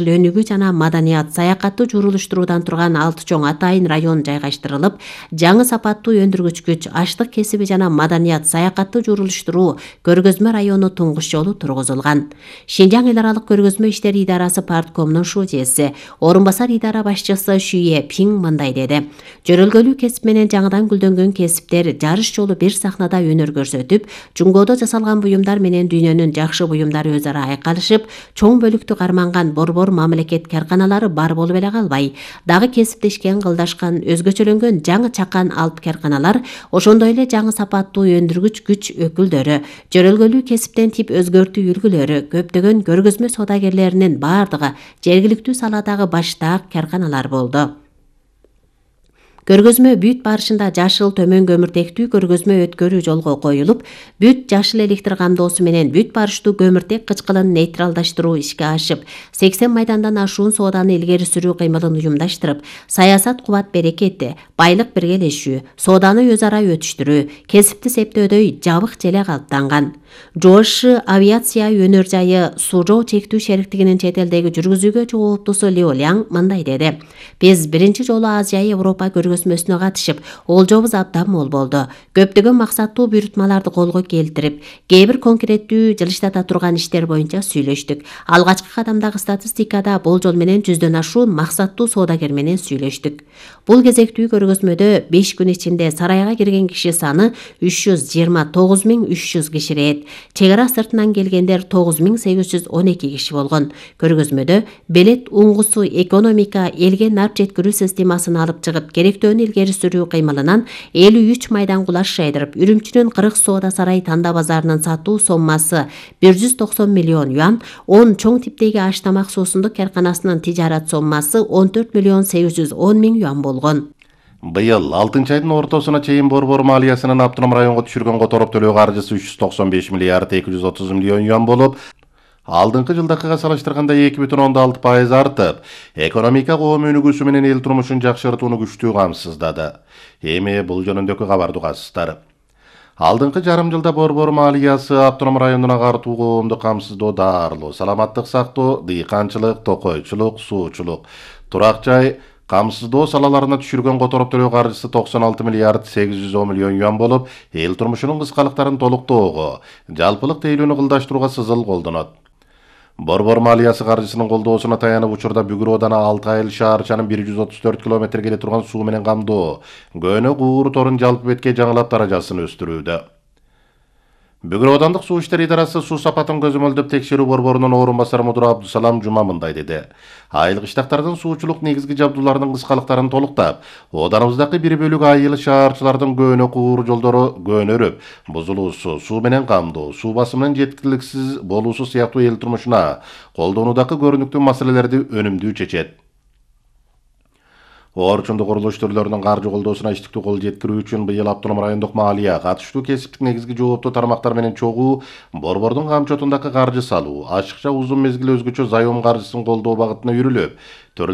өнүгүү жана маданият, саякатты журулуштуруудан турган 6 чоң атайын район жайгаштырылып, жаңы сапаттуу өндүргүч күч, аштык кесиби жана маданият, саякатты журулуштуруу көргөзмө району туңгуш жолу тургузулган. Шинжаң эл аралык көргөзмө иштери идарасы парткомунун шужеси, орун басар идара башчысы Шүйе Пиң мындай деди. Жөрөлгөлүү кесип менен жаңыдан гүлдөнгөн кесиптер жарыш жолу бир сахнада өнөр көрсөтүп, жуңгоодо жасалган буюмдар менен дүйнөнүн жакшы буюмдары өз ара айкалышып, чоң бөлүктү карманган борбор мамлекет карканалары бар болуп эле калбай, дагы кесиптешкен, кылдашкан, өзгөчөлөнгөн жаңы чакан алып карканалар, ошондой эле жаңы сапаттуу өндүргүч күч өкүлдөрү, жөрөлгөлүү кесиптен тип өзгөртүү үлгүлөрү, көптөгөн көргөзмө соодагерлеринин бардыгы жергиликтүү салаадагы баштаак карканалар болду. Көргөзмө бүт барышында жашыл төмөн көмүртектүү көргөзмө өткөрүү жолго коюлуп, бүт жашыл электр камдоосу менен бүт барыштуу көмүртек кычкылын нейтралдаштыруу ишке ашып, 80 майдандан ашуун сооданы илгери сүрүү кыймылын уюмдаштырып, саясат кубат берекети, байлык биргелешүү, сооданы өз ара өтүштүрүү, кесипти септөөдөй жабык желе калыптанган. Жооши авиация өнөр жайы Сужоо чектүү шериктигинин чет элдеги жүргүзүүгө жооптусу Лио Ляң мындай деди. Биз биринчи жолу Азия Европа көргөзмөсүнө катышып, олжобуз абдан мол болду. Көптөгөн максаттуу буйрутмаларды колго келтирип, кээ бир конкреттүү жылыштата турган иштер боюнча сүйлөштүк. Алгачкы кадамдагы статистикада болжол менен 100дөн ашуун максаттуу соодагер менен сүйлөштүк. Бул кезектүү көргөзмөдө 5 күн ичинде сарайга кирген киши саны 329.300 киширет. Чек ара сыртынан келгендер 9812 киши болгон. Көргөзмөдө белет уңгусу экономика, элге нарп жеткирүү системасын алып чыгып, керектөөнү илгери сүрүү кыймылынан 53 майдан кулаш жайдырып, Үрүмчүнүн 40 соода сарай танда базарынын сатуу соммасы 190 миллион юан, 10 чоң типтеги аш тамак суусундук карканасынын тижарат соммасы 14 миллион 810 миң юан болгон. Быйыл 6 айдын ортосуна чейин борбор малиясынын автоном районго түшүргөн которуп төлөө каржысы 395 миллиард 230 миллион юан болуп, алдыңкы жылдакыга салыштырганда 2,6% артып, экономика коом өнүгүүсү менен эл турмушун жакшыртууну күчтүү камсыздады. Эми бул жөнүндөгү кабарды угасыздар. Алдыңкы жарым жылда борбор малиясы автоном районуна картуу коомду камсыздоо, даарылоо, саламаттык сактоо, дыйканчылык, токойчулук, суучулук, турак жай, камсыздоо салаларына түшүргөн которуп төлөө каржысы 96 миллиард 810 миллион юан болуп, эл турмушунун кыскалыктарын толуктоого, жалпылык тейлүүнү кылдаштырууга сызыл колдонот. Борбор малиясы каржысынын колдоосуна таянып учурда Бүгүр оодана 6 айыл шаарчанын 134 км келе турган суу менен камдоо, Көөнө Куур торун жалпы бетке жаңылап даражасын өстүрүүдө. Бүгүр оодандык суу иштери идарасы суу сапатын көзөмөлдөп текшерүү борборунун орун басары мудиры Абдусалам Жума мындай деди. Айыл кыштактардын суучулук негизги жабдууларынын кыскалыктарын толуктап, ооданыбыздагы 1/2 айыл шаарчылардын Көөнө Куур жолдору көнөрүп, бузулуусу, суу менен камдоо, суу басымынын жеткиликсиз болуусу сыяктуу эл турмушуна колдонуудагы көрүнүктүү маселелерди өнүмдүү чечет. Орчундук курулуш түрлөрүнүн каржы колдоосуна иштиктүү кол жеткирүү үчүн быйыл автоном райондук малия катыштуу кесиптик негизги жооптуу тармактар менен чогуу борбордун камчотундагы каржы салуу, ашыкча узун мезгил өзгөчө зайом каржысын колдоо багытына үрүлүп,